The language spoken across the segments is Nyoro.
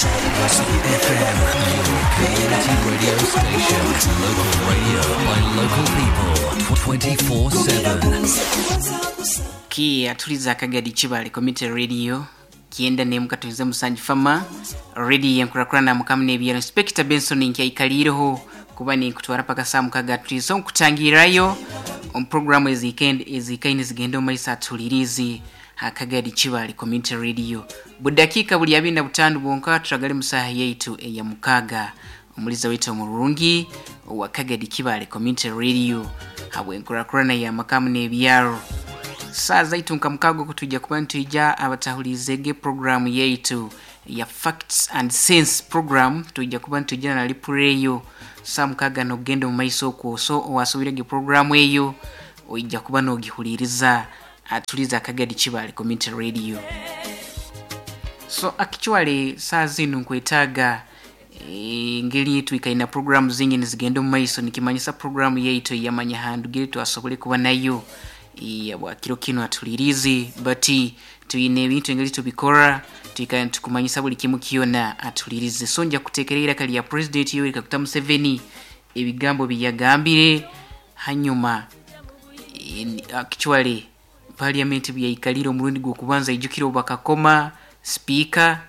FM, your community radio station. Local radio by local people 24/7. Ki atuliza akagadi Kibale Community Radio kienda ne mukatuize musanji fama radio yankurakurana mukamu n'ebyaro. Inspector Benson nkyaikaliriho kuba ninkutwara paka saa mukaga tulizo nkutangirayo omu programu ezikaine zigenda omu maiso atulirizi akagadi Kibale Community Radio. Budakiika buli 25 bwonka turagale mu saaha yaitu eya mukaga. Omuliza waitu omurungi owa Kagadi Kibale Community Radio habwenkurakurana ya makamu n'ebyaro. Saa zaitu nka mukago kutujja kuba nitwija abatahulirizege programu yaitu ya Facts and Sense program, tujja kuba nitwijana na lipureyo saa mukaga nokugenda omu maiso okwo. So owasobirege programu eyo oija kuba nogihuliriza atuliza Akagadi Kibale Community Radio. So actually saa zinu nkwetaaga engeri twikaina programu zingi nizigenda omu maiso, nikimanyisa programu yaitu eyamanya handugire twasobole kuba nayo bwa kiro kino atulirizi, but tuyine ebintu engeri tubikora twikara tukumanyisa buli kimu kyona atulirize. So nja kuteekera iraka lya President Yoweri Kaguta Museveni ebigambo byeyagambire hanyuma actually parliament byaikalire omurundi gw'okubanza. Ijukire bakakoma speaker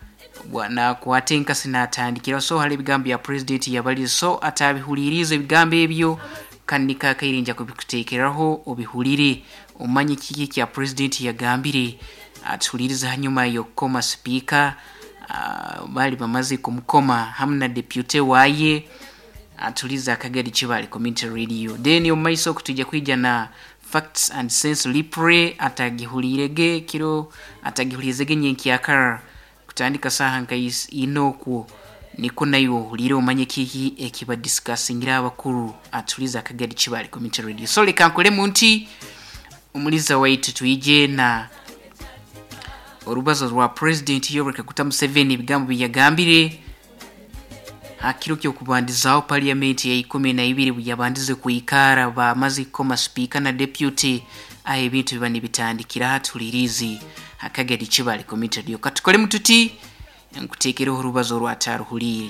nakwata enkasi natandikira. So hali ebigambo bya president yabalize, so atabihulirize ebigambo ebyo kandi kakaire nja kubikuteekeraho obihulire omanye kiki kya president yagambire atuhulirize hanyuma y'okukoma speaker. Bali bamaze kumukoma hamu na deputy waye. Atuliza Akagadi Kibale Community Radio. Then omu maiso okutujja kwija na Facts and Sense lipre atagihulirege kiro atagihulirizege nyenkyakara kutandika saha nka ina okwo niko nayo ohulire omanye kiki ekibadisikasingira abakuru. Atuliza Akagadi Kibale Community Radio. So leka nkolemu nti omuliza waitu twije na orubazo rwa President Yoweri Kaguta Museveni ebigambo byeyagambire hakiro ky'okubandizaho parliament ya 12 bweyabandize kwikara bamaze kukoma speaker na deputy, aho ebintu biba nibitandikira. Hatulirizi Akagadi Kibale Community Radio. Katukole mututi nkuteekereho orubazo rwataruhulire.